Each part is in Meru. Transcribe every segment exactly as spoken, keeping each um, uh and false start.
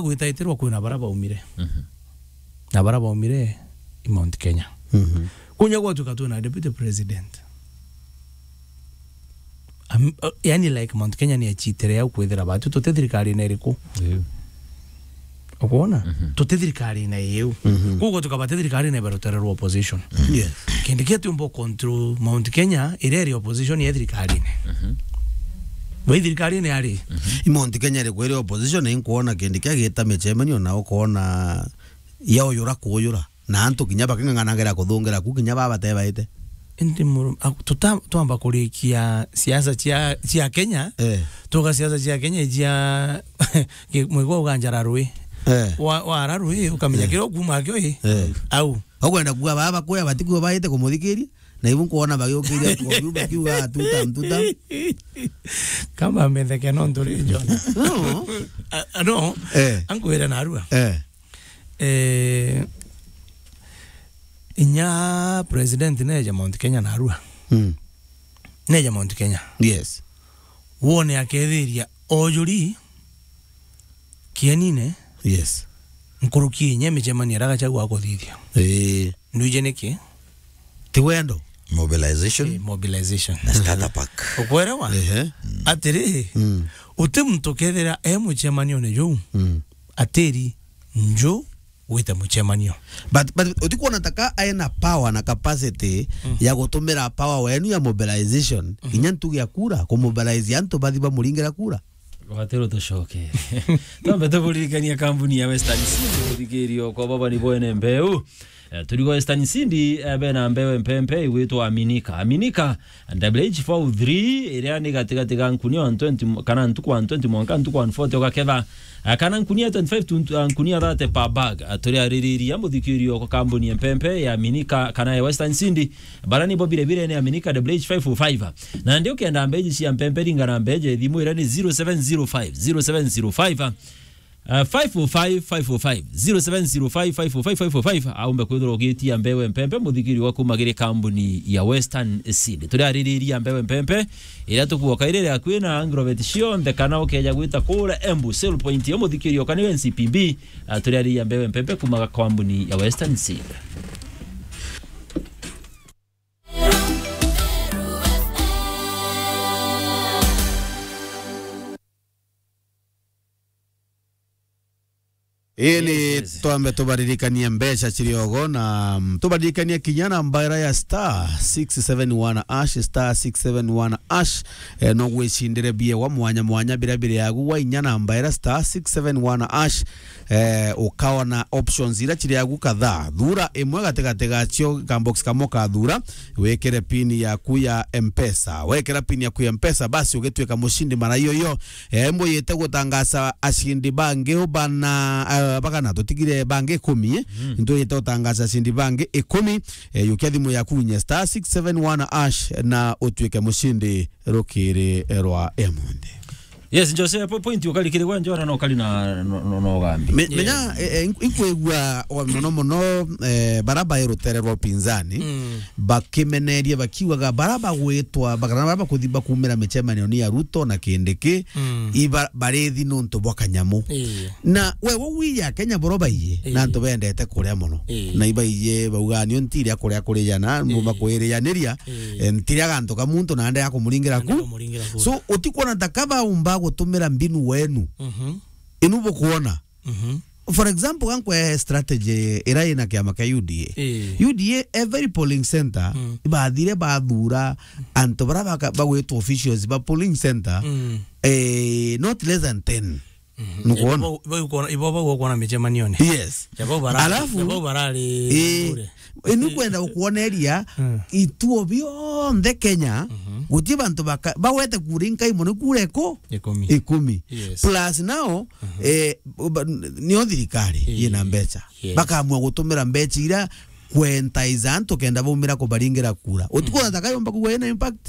gwitaitirwa kwina bara baumire. Mhm. Na bara baumire i Mount Kenya. Mhm. Kunya gwatuka twina deputy president. Am-, uh, yani, like, Mount Kenya ni achitire au kwithira batu tuti thirikarine iriku. Iu. Ukwona? Mhm. Tuti thirikarine iu. Mhm. Koguo tukaba ti thirikarine iba rutere rwa opposition. Yes. Kindi kia tiumba control Mount Kenya iria iri opposition ya thirikarine. Mhm. Bai thirikarine ari? Mhm. I Mount Kenya iri kwiri opposition, ni nkuona kindi kia gita micemanio na ukoona ya uyura kuyura. Na antu kinya baking'ang'anagera kuthungira ku, kinya baba batebaite. Indi muru-, a-, tuta-, twamba kurikia siasa cia, cia Kenya, eh, tuga siasa cia Kenya cia ki-, mwigua uganjara rui. Eh. Wa, wara rui, ukamenya, eh, kira ukuma kio i. Eh. Au. Ukwenda kuga baba bakuya batikuo baite kumuthikiria, na ibu nkuona bagiukiria kwa biu bakiuga, "Tuta, tuta." Kama ametheke no nduri Jona. No. A, a, no. Eh. Ankwire narua. Eh. Eh, inya president neja Mount Kenya narua. Mm. Neja Mount Kenya. Yes. Wone akethiria ojuri kienine. Yes. Nkuruki inya micemanio ira Gachagua akuthithia. Eh. Ndwije niki? Ti wendo. Mobilization. Eh, mobilization. Na starter pack. Ukwerewa? Ehe. Atiri, mm, uti muntu kethira e mucemanione juu, mm, atiri nju gwita mucemanio. But, but utikuona taka aina power na capacity, mm, ya gutumira power wenu ya mobilization, mm, kinya ntugi ya kura, kumobilize antu bathi bamuringira kura? Watero tucoke. Twambe tuburirikania kambuni ya Western Seed, muthikirio kwa baba ni boene mbeu. Eh, turi kwa Western Seed, eh, bena mbeu empempe igwitwa Aminika. Aminika, W H four three, iria ni gatigati ga nkunia one twenty, kana ntuku one twenty mwanka ntuku one forty ugaketha. Eh, kana nkunia twenty-five to, eh, nkunia thirty per bag. Eh, turi aririria muthikirio kwa kambuni empempe ya Aminika kana ya Western Seed. Bara nibo bire bire ni Aminika W H five oh five. Na ndi ukenda mbeji cia mpempe, ringa na mbeji thimu iria ni zero seven zero five, zero seven zero five, uh, five oh five, five oh five, zero seven zero five, five oh five, five oh five, aumbe kwithirwa ugitia mbeu empempe muthikiri wa kuma giri kambuni ya Western Seed. Turi aririria mbeu empempe iria tukuoka iri ria kwina agrovet cionthe, kana ukeja gwita kura Embu sale point yo muthikiri okani N C P B, uh, turi aririria mbeu empempe kuma kambuni ya Western Seed. Ii ni, yes, yes, twambe tubaririkanie mbeca ciriogo na, mm, tubaririkanie kinya namba ira ya star six seven one hash, star six seven one hash. Eh, no gwicindire biewa mwanya mwanya biria biri agu wa inya namba ira star six seven one hash. Eh, ukaona options ira ciri agu kadhaa. Thura imwe gatigati gacio, ka box kamwe ukathura, wikire pin yaku ya Mpesa. Wekira pin yaku ya Mpesa, basi ugituika mucindi mara iyo iyo. Eh, mbuyite gutangaza acindi bangi ubana, eh, bagana, tutigire bangi ikumi, eh? Mm. Ntuyite gutangaza acindi bangi ikumi, eh, yukia thimu yaku unye star six seven one hash na utuike mucindi rukiri rwa emundi. Yes, Jose, po-, point ukari kiri gwa Njora no kari na, no, no, no gambi. Me-, yes, menya, eh, eh, ink-, inkwigua o mono mono, eh, bara bai rutere rwa upinzani, mm, bakimeneria bakiugaga bara bagwitwa, bakana bara bakuthi bakumira micemanio ni ya Ruto na Kindiki, mm, iba-, barithi nuntu bwa kanyamu. Ii. Na we, we wiya Kenya boro baiye, ii, na antu bendete kuria mono. Ii. Na ibaiye bauga, "Nio ntiria kuria kuri jana, ii, mumba kwirianiria, ii, eh, ntiria gantu ka muntu na ndea kumuringira ku." Ndea kumuringira ku. So, utikuona ta ka baumba gutumira mbinu wenu? Mhm. Inu bukuona? Mhm. For example, gankwe strategy ira ina kiama kia U D A. Ii. U D A, every polling center, mm, ibathire bathura antu bara baka-, bagwitwa officials ba polling center, mm, eh, not less than ten. Mhm. Nukuona? Ibo, ibo, ibo, ibo, ibo, ibo kuona micemanione. Yes. Ya bau bara-, alafu, ya bau barari, eh, bure. Inu kwenda gukwoneria, mm, ituo bionthe Kenya, mhm, guti bantu baka-, bagwete kura inkai mono kura iku-, ikumi. Ikumi. Yes. Plus now, mhm, eh, ba-, nio thirikari, eh, yina mbeca. Yes. Bakamua gutumira mbeca ira kwentaiza antu kenda baumira kubaringira kura. Utikuona, mhm, ta kayomba kugwa ina impact?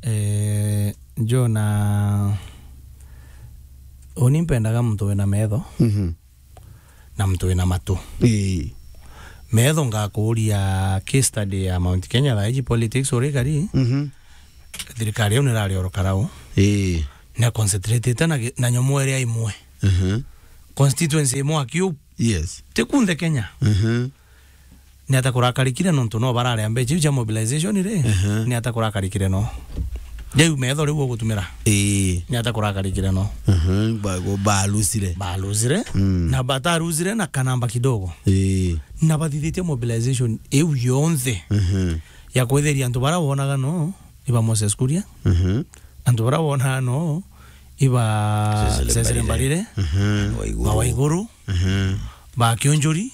Eh, Jona, uni mpendaga muntu wina metho, mhm, na muntu wina matu. Ii. Metho ngakuria case study ya Mount Kenya, thaa iji politics uri kari, mhm, thirikari iu nirari oro karau. Ii. Na concentrate na gi-, na nyomo iria imwe. Mhm. constituency imwe akiu. Yes. Ti kunthe Kenya. Mhm. Ni ata kurakarikire nontu no bararea mbeca iu cia mobilization ri? Ehe. Ni ata kurakarikire no? Jau metho riu ugutumira. Ii. Ni ata kurakarikire no? Mhm. Ba-, go-, balusire. Balusire. Mm. Na batarusire na kanamba kidogo. Ii. Na bathithitie mobilization iu yonthe. Mhm. Ya kwetheria antu bara wonaga no iba Moses Kuria. Mhm. Antu bara wonaga no iba Cecily Cecily Mbarire. Mbarire. Mhm. Waiguru. Ba Waiguru. Mhm. Ba Kionjuri.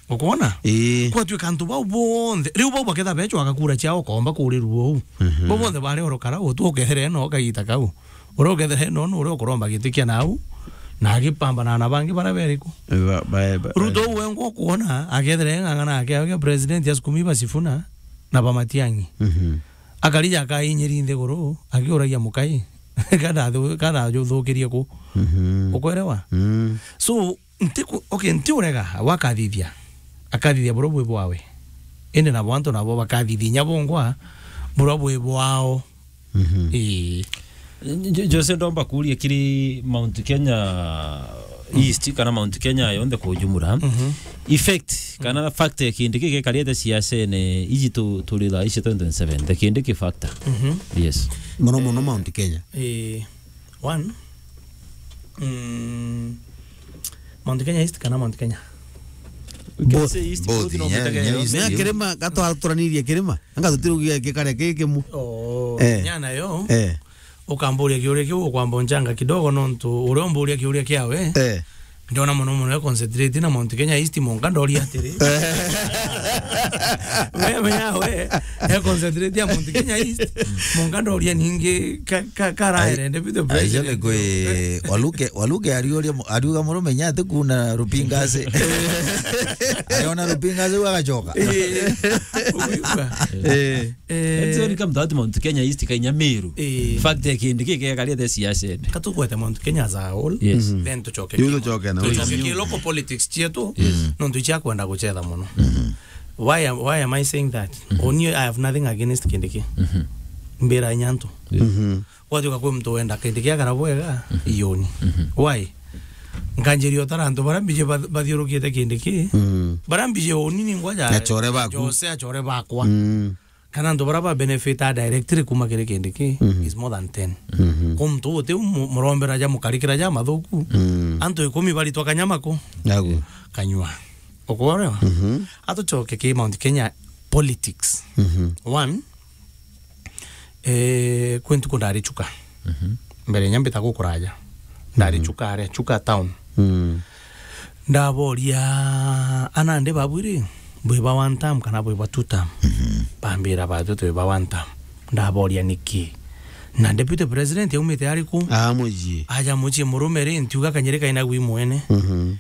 Ukwona? Ii. Kwatuika antu bau bonthe, riu bau baketha becwaga kura ciao, ukomba kurirua uu. Mhm. Bau bonthe bari orokara utu ukethere no kagita kau. Uria ukethere no, no uria ukuromba giti kia nau, na agipambana na bangi bara beriku. Ba-, ba-, ba-, Ruto uu wengwa ukwona, akethere ng'ang'ana ake, ake president asukumi ba Sifuna na ba Matiang'i. Mhm. Akarija akainyiri nthiguru, akiuragia mukai. Kana athu-, kana ajuthukirie ku. Mhm. Ukwerewa? Mm. So, Ntiku-, okay, ntiurega, wakathithia. Akathithia buria bwi bwawe. Indi nabo antu nabo bakathithia inya bongwa buria bwi bwao. Mhm. Ii. Jo-, Jose, ndomba kuuria kiri Mount Kenya East kana Mount Kenya yonthe kwa ujumla. Mhm. Effect kana fact ya Kindiki gikariete siasene iji tu-, turi thaa ici twenty twenty-seven. The Kindiki factor. Mhm. Yes. Mono mono Mount Kenya. Ii. One, mm, Mount Kenya East kana Mount Kenya? Both. Say East, both, both no yeah, mutegere yeah, yonthe. Mea kirima, gatwaturaniririe kirima. Anga tutirugia gikare ki kimu. Oh, eh. Nyana yo. Eh. Ukamburia kiuria kiu, ukwamba unchanga kidogo nontu uria umburia kiuria kiawe. Eh. Ndiona mono mono e concentrate na Mount Kenya East, monka ndoria atiri. Wewe yawe, e concentrate ya Mount Kenya East, monka ndoria ningi ka, ka, karaere, ai, deputy president. Aisha kwe, Waluke, Waluke ariuria mu-, ariuga murume nya ati kuna rupingase. Ayona rupingase agachoka. Eh, uguigua? Eh. Eh. Yaani, sioni kama mtawati Mount Kenya East, Kenya Meru. Eh. Fact ya Kindiki gikariete siasa ene. Katukwete Mount Kenya as a whole. Yes. Mhm. Then tucoke. Yu ki-, tucoke na tucoke ki local politics cietu. Yes. Nontu icia kwenda gucetha mono. Mhm. Why am, why am I saying that? Mhm. Oni, I have nothing against Kindiki. Mhm. Mbira inya antu. Yes. Mhm. Gwatuika kwi muntu wenda Kindiki agara bwega, mhm, ioni. Mhm. Why? Nkanjiria utara antu bara mbiji bath-, bathiurukite Kindiki. Mhm. Bara mbiji uni ni ngwa ja achore baku. Jose achore bakwa. Mhm. Kana antu bara ba benefit directly kuma kiri Kindiki, mhm, is more than ten. Mhm. Kwi muntu uti mu-, murombera ja mukarikira ja mathuku. Mhm. Antu ikumi baritwa kanyama ku. Nagu. Kanyua. Ukworewa? Mhm. Atucoke ki Mount Kenya politics. Mhm. One, eh, kwi ntuku ndari Chuka. Mhm. Mbere inya mbita gukuraja. Ndari, mhm, Chuka are, Chuka town. Mhm. Ndaboria, "Anandi babu ri, bwi ba one term kana bwi ba two term?" Mhm. Bambira, "Batwi twi ba one term." Ndaboria, "Niki?" "Na deputy president aumite ariku?" Ah, mucii. Aja mucii murume ri, ntiuga kanyiri kaina gwi mwene. Mhm.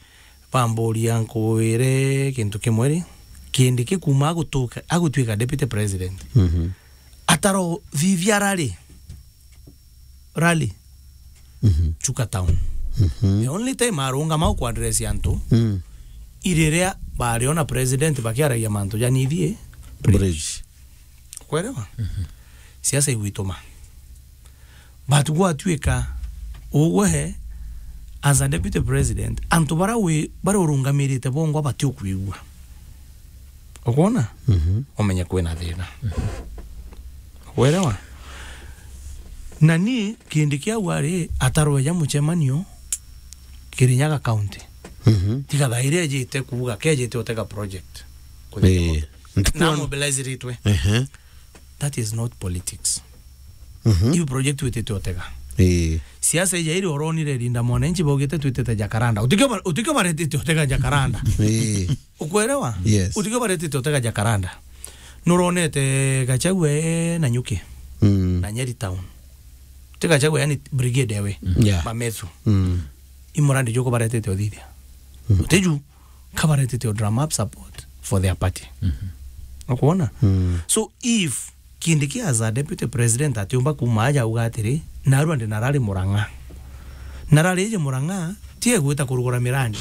Bamburia nkwire kintu kimwe ri, Kindiki kuma agutuka, agutwika deputy president. Mhm. Ataro thithia rally. Rally. Mhm. Chuka town. Mhm. The only time arungama ku address antu, mm, iriria bariona president bakiaragia mantu ja nithie bridge. Bridge. Kwerewa? Mhm. Siasa igwituma. But gwatuika ugwe as a deputy president, antu bara wi-, bara urungamirite bongwa batiukwigua. Ukwona? Mhm. Umenye kwina thina. Mhm. Werewa? Na ni Kindiki au ari atarweja mucemanio Kirinyaga County. Mhm. Tiga thairi ejite kuuga kejite utega project. Kuthithia, eh, muntu. Ntuku na mobilize ritwe. Ehe. That is not politics. Mhm. Iu project witite utega. Ii. Siasa ija iri uronire Linda Mwananchi baugite twitite Jacaranda. Utikio ba-, utikio baretite utega Jacaranda. Ii. Ukwerewa? Yes. Utikio baretite utega Jacaranda. Nuronete Gachagua e Nanyuki. Mm. Na Nyeri town. Ti Gachagua, yani brigade ewe. Yeah. Bamethu. Mm. Imurandi juko baretite uthithia. Mm. Utiju kabaretete o drum up support for their party. Mhm. Ukwona? Mm. So if Kindiki as a deputy president atiumba kuma aja auga atiri, narua ndi narari Murang'a. Narari ije Murang'a, tie gwita kurugura mirandi.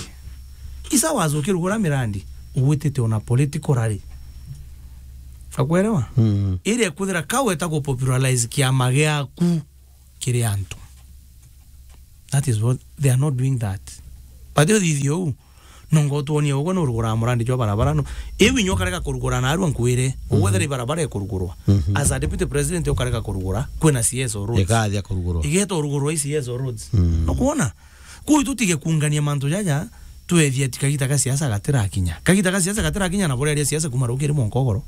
Isa wazuki rugura mirandi, ugwitite ona political rally. Akwerewa? Mm. Iri ekwithira kaweta ku popularize kiama giaku kiri antu. That is what they are not doing that. But uthithia uu, nongo utwonie ugwe nuruguraa murandi jwa barabara no. Iu inya ukarega kurugura na arua nkwire, ugwethera ibarabara ikurugurwa. As a deputy president ukarega kurugura, kwina C S O roads. Ikathia kurugurwa. Igeta urugurwa i C S O roads. Nukwona? Kuu tutige kuungania mantu jaja, twethia ti kagita ka siasa gatirakinya. Kagita ka siasa gatirakinya na bureria siasa kuma rukiri mwanka ugoro.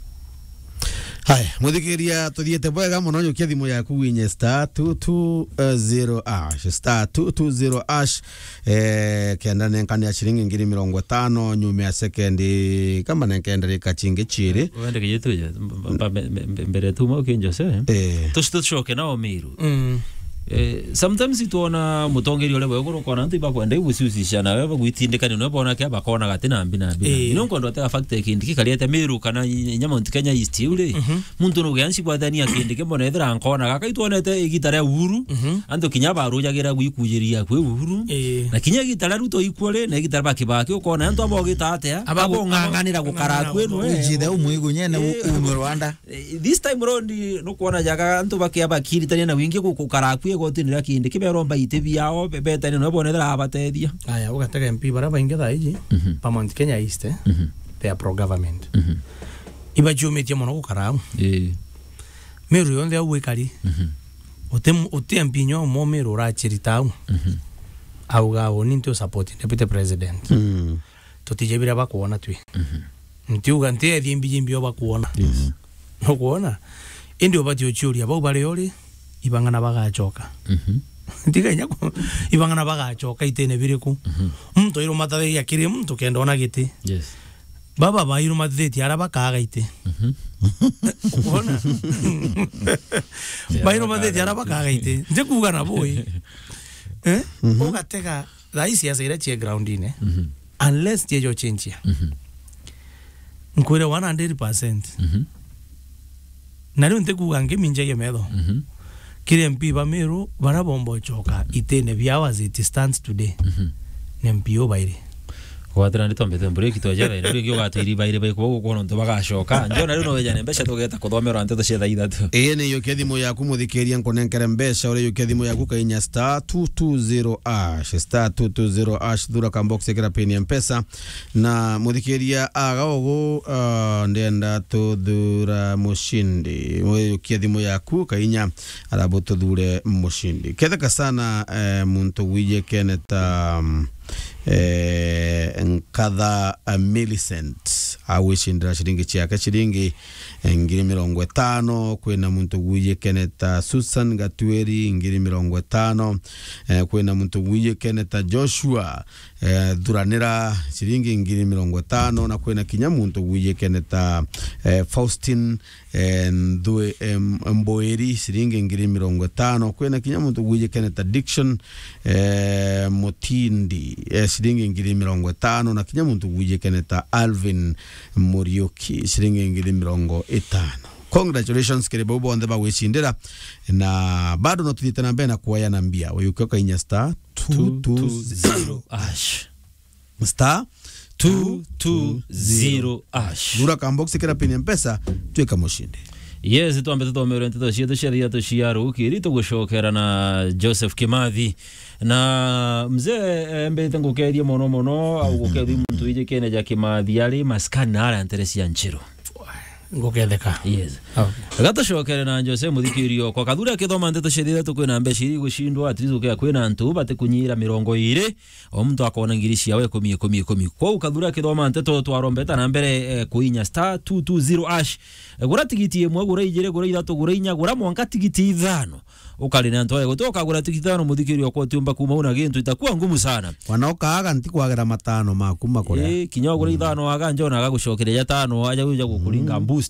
Haya, muthikiria, tuthiite bwega mono, yukia thimu yaku winye star two two zero hash, star two two zero hash, eh, kenda nenkane ya ciringi ngiri mirongo itano, nyuma ya sekendi, kama nenkenda rika cingi ciiri. Wende kijitu je, mba-, mba-, mbe-, mbe-, mbere tu mauki Jose. Eh. Tuci-, tucoke nao Miru. Mm. Eh, sometimes itwona mutongeria uria bwega, ukona antu ibakwenda iguciucisha nawe, bagwitindikania nawe, bona kia bakona gati na mbi na mbi na mbi. Eh. Ino nkwenda utega fact ya kindi kikariete Miru kana i-, inya Mount Kenya East iu ri. Mhm. Muntu nuge anci bwathania kindi kimbona ethira nkona gaka itwonete igita ria Uhuru. Mhm. Antu kinya barujagira gwikujiria kwi Uhuru. Eh. Na kinya igita ria Ruto ikwo ri, na igita ria Kibaki ukona antu abo gita atia. Abo ng'ang'anira gukara kwenu, eh. Ujithe umwigu nyene u-, Eh. ume Rwanda. Eh, this time round, nukwona jaga antu bakia bakiritania na wingi gu-, gukara akui igotini ria kindi kiberomba iti biao, be-, betania no bone thira abatethia. Aya, ugatega M P bara baingi thaa iji, Mhm. ba Mount Kenya East, eh? Mhm. They are pro government. Mhm. Ibaciumitie mono gukara au. Eh. Miru yonthe au ikari. Mhm. Uti m-, uti M P nyo mo Miru urachirita au. Mhm. Auga, "Uni nti usupport deputy president." Mm. Tutije biria bakwona twi. Mhm. Ntiuga nti ethie mbiji mbio bakwona. Yes. Nukwona? Indi ubati uciuria bau bari uri, ibang'ana bagacoka. Mhm. Ntiga inya ku-, ibang'ana bagacoka itene biriku? Mhm. Muntu airumatithagia kiri muntu kenda ona giti. Yes. Baba bairumatithitie ara bakaga iti. Mhm. Ukwona? Yeah, bairumatithitie ara bakaga iti. Nti kuuga na bui. Eh? Mhm. Ugatega thaa ii siasa iria cie groundine. Mhm. Unless ciejo chinchia. Mhm. Nkwire one hundred percent. Mhm. Na riu ntikuuga ngiminjagia metho. Mhm. Kiri M P ba Miru, bara bomba ucoka itene biao as it stands today. Mhm. Ni M P ubairi. Gwatira ndi tombete mburi kitwa jara, na ringi ugatwiri bairi bai kuba gukona ntu bagacoka. Njona riu no wejane mbeca tugeta kuthomera nteto cia thaa ithatu. Ii ni yukia thimu yaku muthikiria nkunenkere mbeca, uri yukia thimu yaku kainya star two two zero hash, star two two zero hash, thura ka box ikira pin ya Mpesa. Na muthikiria aga ugu, ah, ndenda tuthura mucindi. Wiyukia thimu yaku kainya, arabu tuthure mucindi. Ketheka sana, eh, muntu wije keneta, mm, eh, Nkatha, eh, Millicent. Agwicindira ciringi ciake ciringi, eh, ngiri mirongo itano. Kwina muntu wije keneta Susan Gatweri, ngiri mirongo itano. Eh, kwina muntu wije keneta Joshua, eh, Thuranira, ciringi ngiri mirongo itano, na kwina kinya muntu wije keneta, eh, Faustin, eh, Nthu-, em, Mboeri, ciringi ngiri mirongo itano, kwina kinya muntu wije keneta Dickson, eh, Mutindi, eh, ciringi ngiri mirongo itano, na kinya muntu wije keneta Alvin Muriuki, ciringi ngiri mirongo itano. Congratulations kiri bau bonthe bagwicindira, na bado no tuthiite na mbere na kuoya na mbia. Wiyukia ukainya star two two zero hash. Star two two zero hash. Thura ka box kira pin ya Mpesa, twika mucindi. Yes, twambe tuthomere nteto cietu cia thiatũ cia rukiri, tugucokera na Joseph Kimathi. Na mzee, eh, mbete ngukerie mono mono, au gukethi muntu iji kene ja Kimathi ari maskani na ara ntere cia Nchiru. Nguketheka. Yes. Okay. Gatucokere na Jose muthikirio kwa Kathuri akithoma nteto cia thiatũ kwina mbeca iri gucindwa, at least ukia kwina antu batikunyira mirongo iri. O muntu akona ngiri ciawe ikumi, ikumi, ikumi. Kwou Kathuri akithoma nteto twarombeta na mbere, eh, kuinya star two two zero hash. Eh, gura tigiti imwe, gura ijiri, gura ithatu, gura inya, gura mwanka tigiti ithano. Ukari na ntware guti ukagura tigiti ithano muthikirio kwa utiumba kuma una gintu itakuwa ngumu sana. Wana ukaaga nti kwagera matano maku makore. Eh, kinya ugura ithano aga njona agagucokeria ja tano aja uja gukuringa boost.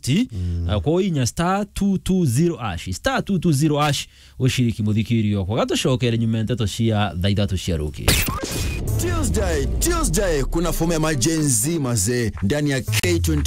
Ah, kwa inya star two two zero hash. Star two two zero hash. Ushiriki muthikirio kwa gatucokere nyuma nteto cia thaa ithatu cia rukiri. Tuesday, Tuesday, kuna fomu ya majenzi mazee ndani ya K twenty